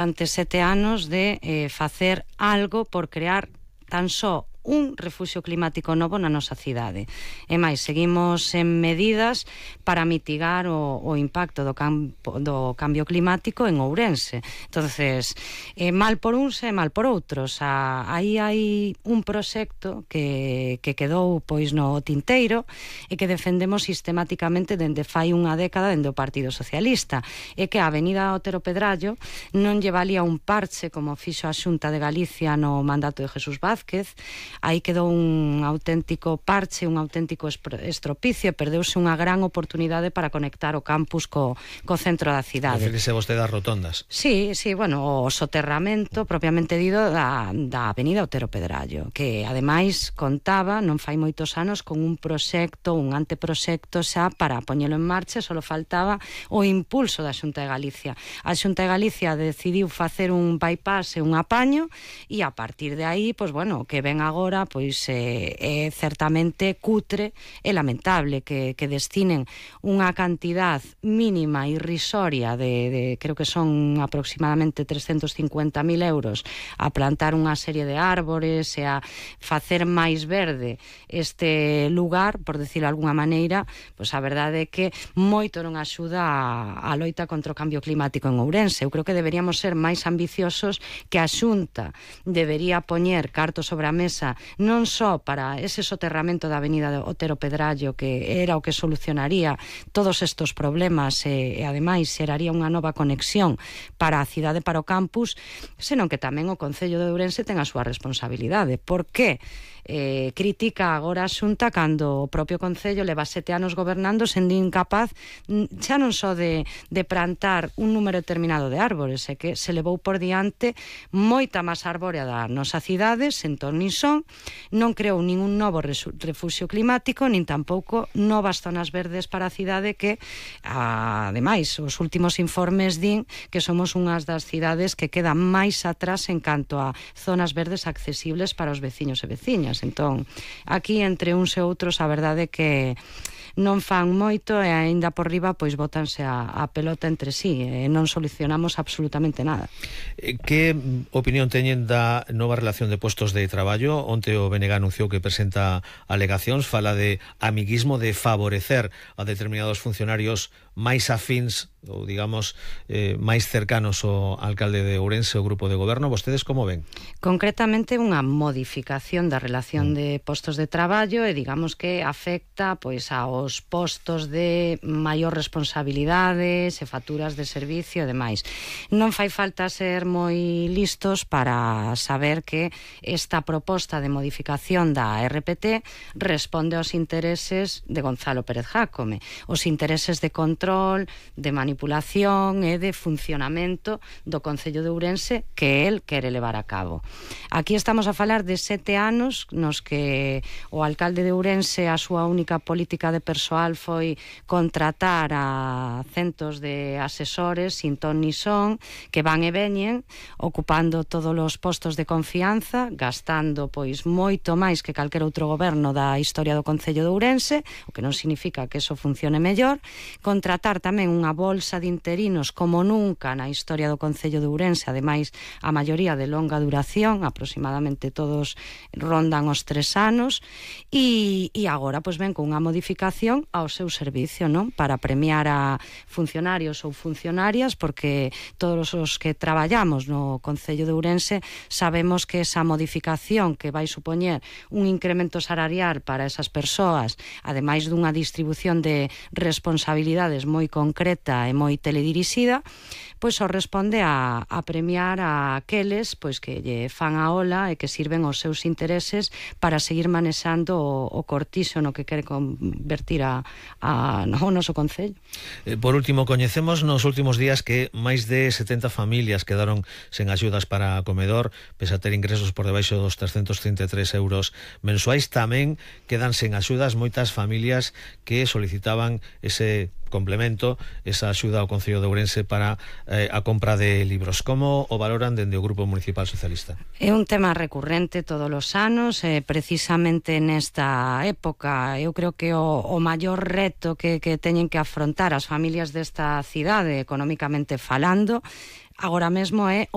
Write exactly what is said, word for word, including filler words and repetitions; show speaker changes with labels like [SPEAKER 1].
[SPEAKER 1] durante sete anos de eh, facer algo por crear tan só un refuxio climático novo na nosa cidade. E máis, seguimos en medidas para mitigar o, o impacto do, campo, do cambio climático en Ourense. Entonces, eh, mal por uns e mal por outros. A, aí hai un proxecto que, que quedou pois no tinteiro e que defendemos sistemáticamente dende fai unha década dende o Partido Socialista, e que a Avenida Otero Pedrallo non lle valía un parche como fixo a Xunta de Galicia no mandato de Jesús Vázquez. Aí quedou un auténtico parche, un auténtico estropicio, e perdeuse unha gran oportunidade para conectar o campus co, co centro da cidade.
[SPEAKER 2] Refírese vostede ás rotondas?
[SPEAKER 1] Sí, sí, bueno, o soterramento propiamente dido da, da Avenida Otero Pedrallo, que ademais contaba, non fai moitos anos, con un proxecto, un anteproxecto xa para poñelo en marcha, só faltaba o impulso da Xunta de Galicia. A Xunta de Galicia decidiu facer un bypass e un apaño, e a partir de aí, pois bueno, que ven agora Agora, pois é, é certamente cutre e lamentable que, que destinen unha cantidad mínima irrisoria de, de, creo que son aproximadamente trescentos cincuenta mil euros a plantar unha serie de árbores e a facer máis verde este lugar, por decirlo de alguna maneira. Pois a verdade é que moito non axuda a, a loita contra o cambio climático en Ourense. Eu creo que deberíamos ser máis ambiciosos, que a Xunta debería poñer cartos sobre a mesa non só para ese soterramento da Avenida Otero Pedrallo, que era o que solucionaría todos estes problemas e, e ademais xeraría unha nova conexión para a cidade, para o campus, senón que tamén o Concello de Ourense ten a súa responsabilidade. Por que eh, critica agora a Xunta cando o propio Concello leva sete anos gobernando sendo incapaz xa non só de, de plantar un número determinado de árbores, é que se levou por diante moita máis árbore da nosa cidade sen ton nin son, non creou ningún novo refuxio climático, nin tampouco novas zonas verdes para a cidade, que ademais os últimos informes din que somos unhas das cidades que quedan máis atrás en canto a zonas verdes accesibles para os veciños e veciñas. Entón, aquí entre uns e outros a verdade é que non fan moito e aínda por riba pois botanse a, a pelota entre sí e non solucionamos absolutamente nada.
[SPEAKER 2] Que opinión teñen da nova relación de postos de traballo? Onte o B N G anunciou que presenta alegacións, fala de amiguismo, de favorecer a determinados funcionarios máis afíns ou digamos eh, máis cercanos ao alcalde de Ourense, o grupo de goberno. Vostedes como ven?
[SPEAKER 1] Concretamente unha modificación da relación mm. de postos de traballo, e digamos que afecta pois aos postos de maior responsabilidade, se facturas de servicio e demais. Non fai falta ser moi listos para saber que esta proposta de modificación da R P T responde aos intereses de Gonzalo Pérez Jácome, os intereses de control, de manipulación e de funcionamento do Concello de Ourense que el quere levar a cabo. Aquí estamos a falar de sete anos nos que o alcalde de Ourense, a súa única política de persoal foi contratar a centos de asesores sin ton ni son, que van e veñen ocupando todos os postos de confianza, gastando pois moito máis que calquera outro goberno da historia do Concello de Ourense, o que non significa que eso funcione mellor. Contratar tamén unha bolsa de interinos como nunca na historia do Concello de Ourense, ademais a maioría de longa duración, aproximadamente todos rondan os tres anos, e, e agora pois ven con unha modificación ao seu servicio, non? Para premiar a funcionarios ou funcionarias, porque todos os que traballamos no Concello de Ourense sabemos que esa modificación que vai supoñer un incremento salarial para esas persoas, ademais dunha distribución de responsabilidades moi concreta e moi teledirixida, pois só responde a, a premiar a aqueles pois que lle fan a ola e que sirven aos seus intereses para seguir manexando o, o cortixo no que quere convertir a, a, no noso Concello.
[SPEAKER 2] Eh, por último, coñecemos nos últimos días que máis de setenta familias quedaron sen axudas para comedor, pese a ter ingresos por debaixo dos trescentos trinta e tres euros mensuais. Tamén quedan sen axudas moitas familias que solicitaban ese complemento, esa axuda ao Concello de Ourense para eh, a compra de libros. Como o valoran dende o Grupo Municipal Socialista?
[SPEAKER 1] É un tema recurrente todos os anos, eh, precisamente nesta época. Eu creo que o, o maior reto que, que teñen que afrontar as familias desta cidade, económicamente falando, agora mesmo é